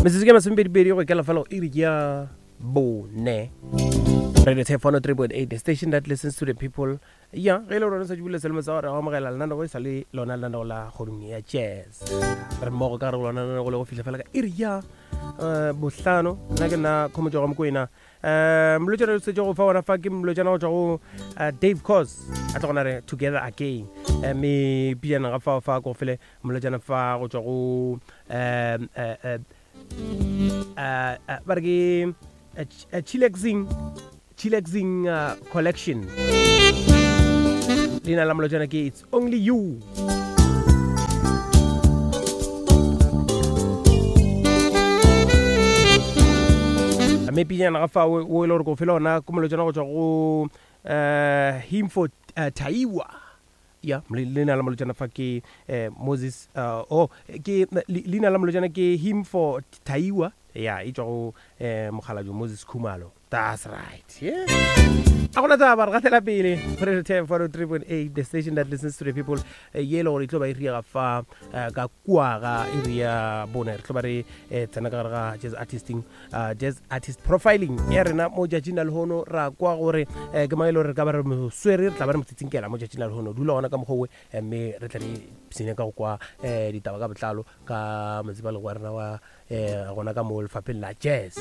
Metsotso ke masomepedipedi go ikela fela go iri ya bone. Radio Tap 103.8, the station that listens to the people. Ya, ge e le gore o sa tšibule selemo sa gore go amogela lenaneo e sa le lona lenaneo la kgodung ya jazz. Re mmogo ka gare go lona lenaneo le go fihla fela ka iri ya eh, bohlano. Nna ke nna Khomotšo ga Mokwena. Eh, molotšana o setse go fa gona fa ke molotšana go tšwa go eh, Dave Cos a tla gona re together again. Eh, me pijana ga fao fa ko fele molotšana fa go tšwa go eh, eh, eh, eh, eh, ba re ke eh, eh, chillaxing chillaxing uh, collection. Leina la molotšana ke it's only you. Mme pijana ga fa o e le gore ko fela ona ko molotšana go tšwa go um him for uh, Taiwa. Ya, leina la molotšana fa ke eh, Moses uh, oh ke leina la molotšana ke him for Taiwa. Ya, e tšwa go eh, mokgalabje Moses Khumalo. That's right. Yeah. A gona taba re gatela pele go re 10 403.8 the station that listens to the people eh, ye e le gore e tlo ba e riega fa eh, ka kua ga iri ya bone re tlo ba re eh, tsena ka gare ga jazz artisting uh, jazz artist profiling ya rena mo tšatšing la lehono ra kwa gore eh, ke mang e le gore re ka ba re mo swere re tla ba re mo tsitsinkela mo tšatšing la lehono dula gona ka mokgwa owe eh, mme re tla re sene ka go kwa eh, ditaba ka botlalo ka motsebale wa rena wa eh, gona ka mo lefapheng la jazz.